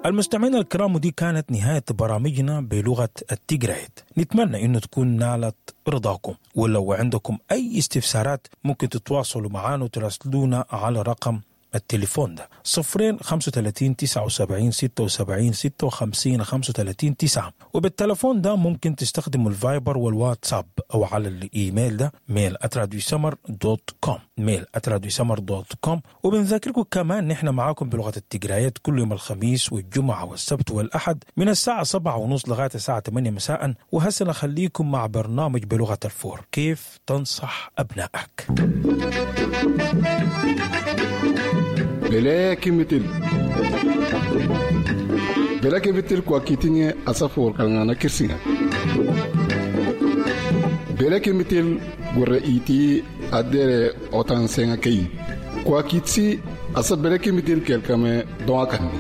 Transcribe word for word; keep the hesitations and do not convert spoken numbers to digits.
المستمعين الكرام، ودي كانت نهاية برامجنا بلغة التجرايت. نتمنى انه تكون نالت رضاكم، ولو عندكم اي استفسارات ممكن تتواصلوا معنا وتراسلونا على رقم التليفون ده صفرين خمسة وتلاتين تسعة وسبعين ستة وسبعين ستة وخمسين خمسة وتلاتين تسعة. وبالتلفون ده ممكن تستخدموا الفايبر والواتساب أو على الإيميل ده mail at radio سمر dot com، mail at radio سمر dot com. وبنذكركم كمان نحن معاكم بلغة التجرايات كل يوم الخميس والجمعة والسبت والأحد من الساعة سبعة ونص لغاية الساعة ثمانية مساء. وهسه نخليكم مع برنامج بلغة الفور، كيف تنصح أبنائك. Bele kimitil bele kimitil kwa kitinye asafo kalngana kirsinga bele kimitil gurre iti adere otan senga kei kwa kitsi asa bele kimitil kelkame doa kanni.